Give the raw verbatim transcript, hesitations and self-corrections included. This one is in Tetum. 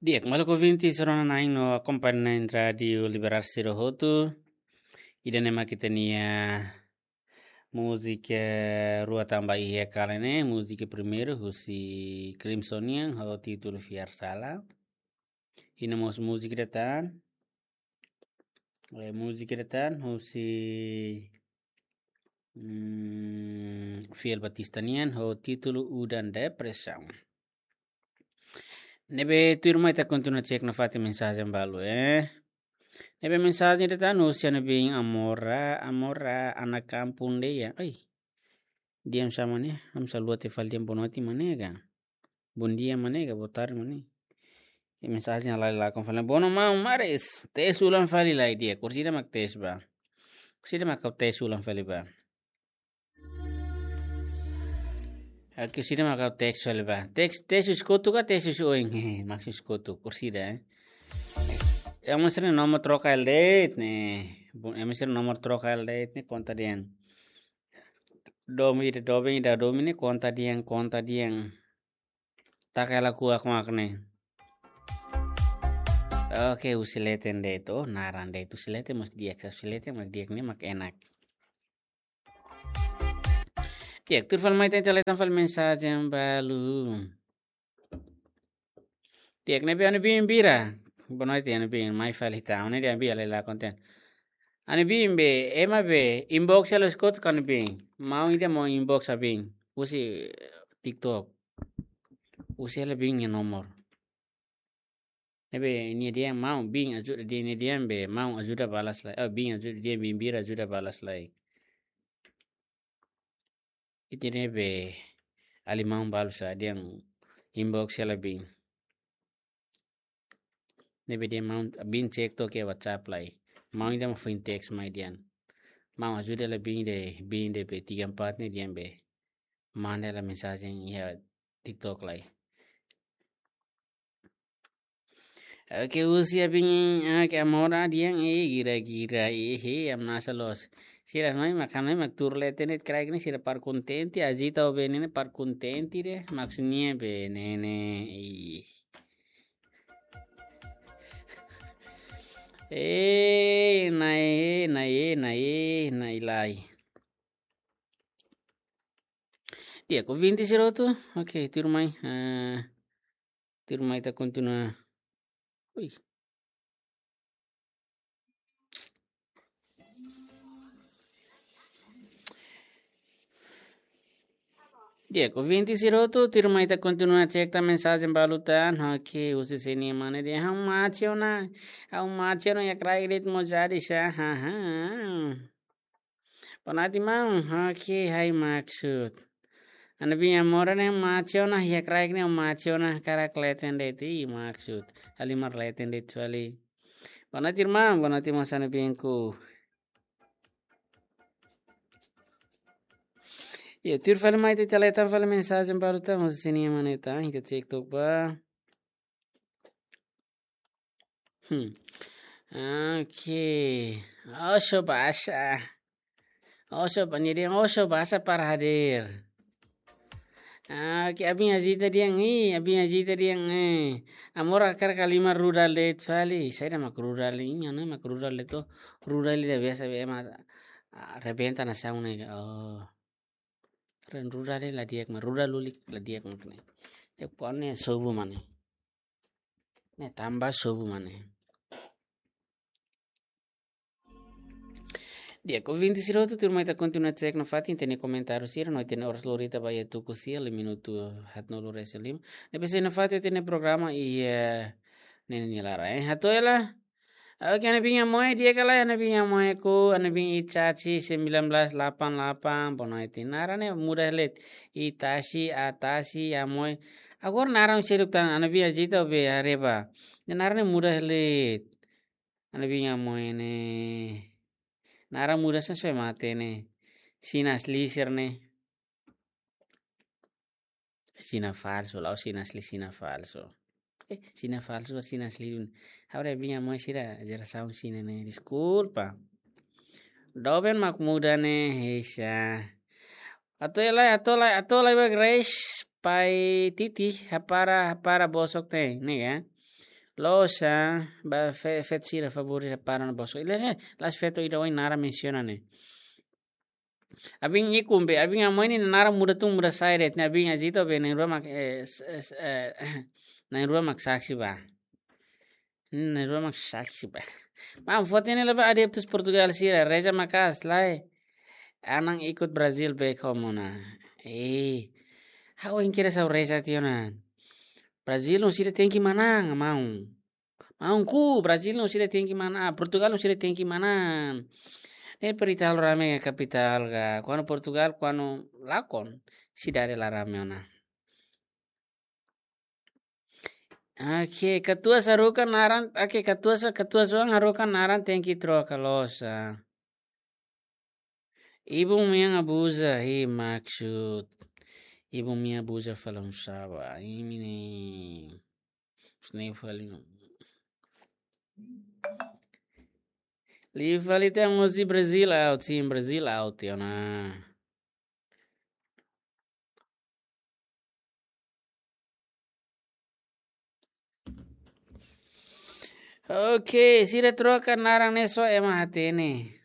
Di'ak, maluk ouvinte sira-nia nain no akompañante Rádiu Liberal sira hotu. Ida-ne'e mak ita-nia múzika rua tanba iha kala ne'e, múzika primeiru husi Crimson nian ho títulu Fiar Sala. Iha mós múzika ida tan. Eh, múzika ida tan husi, mm, Fiel Batista nian ho títulu Udan Depresaun. Ne'ebé tuirmai ita kontinua cek nafatin mensajen balu, eh. Ne'ebé mensajen ida tan husi Ana Bin Amora, Amora, Ana Kampung Deia. Ai. Di'ak, sama ne'e, ami selalu atu fali di'ak, boa noite, maun nega. Bom dia, maun nega, boa tarde, maun nega. I mensajen halai lakon fali. Boa noite, maun Maris. Tes ulang fali lai di'ak. Kursida mak tes ba. Kursida mak tes ulang fali ba. Oke, kursida mak tes fali ba. Tes, tes husi kotuk ka tes husi oin? Hehe, mak husi kotuk. Kursida, eh. Ema sira-nia nomor troka hela de'it ne'e. Bo-, ema sira-nia nomor troka hela de'it ne'e konta de'it. Domin ida, domin ida, domin ne'e konta de'it, konta de'it. Taka hela kuak mak ne'e. Oke, husi leten de'it. Oh, naran de'it. Husi leten mós di'ak, husi leten mak di'ak ne'e mak enak. Di'ak, tuir fali mai ita lee tan fali mensajen balu. Di'ak, ne'ebé Ana Bin Bira. Boa noite, Ana Bin, mai fali ita. Ne'e di'ak, Ana Bin, halai lakon tan. Ana Bin be, ema be, inbox hela husi kotuk ka Ana Bin. Maun ida mak inbox Ana Bin. Husi TikTok. Husi hela Bin nia nomor. Ne'ebé nia dehan maun Bin ajuda de'it, nia dehan be maun ajuda balas lai. Oh, Bin ajuda de'it, Bin Bira ajuda balas lai. Ita ne'ebé alin maun balu sira dehan inbox hela Bin. Ne'ebé dehan maun Bin cek to'o iha WhatsApp lai. Maun ida mak foin teks mai dehan. Maun ajuda hela Bin de'it, Bin de'it be tiga empat ne'e dehan be. Manda hela mensajen iha TikTok lai. Oke, husi Ana Bin, oke, Amora dehan, eh, gira-gira, eh, eh, ami nasa los. Sira mai mak, ami mak tuur leten de'it kraik ne'e sira para kontente, Azita ho Bene ne'e para kontente de'it, maksudnya Bene ne'e, ih. Eh, nai, eh, nai, eh, nai, eh, nai lai. Di'ak, ouvinte sira hotu. Oke, tuirmai. Ah, tuirmai ita kontinua. Ui. Di'ak, ouvinte sira hotu, tuirmai ita kontinua cek tan mensajen balu tan. Oke, husi Senia Mane dehan, ha'u mate ona, ha'u mate ona iha kraik de'it mós jadi sá, haha. Boa noite, maun. Oke, hai maksud. Ana Bin Amora ne'e mate ona, iha kraik ne'e mate ona, hakarak leten de'it, ih, maksud. Halimar leten de'it fali. Boa noite, irmã. Boa noite, maun Ana Bin ku. Iha, tuir fali mai ita lee tan fali mensajen balu tan, husi Senia Mane tan, ita cek to'ok ba. Hmm. Oke. Oso basa. Oso ba-, jadi oso basa para hadir. Oke, Ana Bin Azita dehan, ih, Ana Bin Azita dehan, eh. Amora hakarak halimar rudal de'it fali. Saida mak rudal, ih, ne'e mak rudal de'it to. Rudal ida biasa be ema, ah, rebenta nasaun ne'e. Oh. Ren rudal de'it la di'ak mak, rudal lulik la di'ak mak ne'e. Di'ak pone sobu mane. Ne'e tanba sobu mane. Di'ak, ouvinte sira hotu, tuirmai ita kontinua cek nafatin, ita-nia komentáriu sira, no ita-nia oras lori ita ba iha tuku sia, lima minutu haat no lori ese lima. Ne'ebé sei nafatin ita-nia programa iha, eh, ne'e nia laran, eh, hato'o hela. Oke, Ana Bin Amoe, di'ak ka lae, Ana Bin Amoe ku, Ana Bin Itachi sembilan belas delapan delapan, boa noite. Naran ne'e muda hela de'it. Itachi, Atachi, Amoe. Agora naran seluk tan, Ana Bin Azita be haree ba. Ne'e naran ne'e muda hela de'it. Ana Bin Amoe ne'e. Naran muda sá, só mate ne'e. Sina asli sira-ne'e. Sina falsu, la'ós sina asli, sina falsu. Eh, sina falsu, sina asli. Agora Ana Bin Amoe sira jerasaun sina ne'e, deskulpa. Doben mak muda ne'e, heisa. Hato'o lai, hato'o lai, hato'o lai ba Grace, pai Titi, hapara, hapara bosok ne'e, ne'e ka? Loos, ah, ba fe-, feto sira favór para na Bosco. Ida-ne'e, la'ós feto ida ohin naran mensiona ne'e. Abin ikun be, abin amoi nia naran muda tun muda sai de'it, ne'e abin Azito be, na'in-rua mak, eh, s-, s-, eh, na'in-rua mak saksi ba. Hmm, na'in-rua mak saksi ba. Maun, foto ne'e leba adeptus Portugal sira, reza maka'as lai. Anan ikut Brazil be komo na. Eh, ha'u ohin kedas ha'u reza tiha ona. Brazil no sira tenke manán, maun. Maun, ku Brazil no sira tenke manán, Portugal no sira tenke manán. Ne'e peri talo rame kapitál ka. Kuandu Portugal, kuandu lakon, sidade la rame ona. Oke, katuas haruka naran, oke, katuas, katuas oan haruka naran tenke troka loos, ah. Ibun mean abuza, hi maksud. Ibun mean abuza fali oinsá ba, imi ne'e. Sne fali no. Li fali te mosi Brazil out, sim, Brazil out, ya na. Oke, sira troka naran ne'e só ema hatene.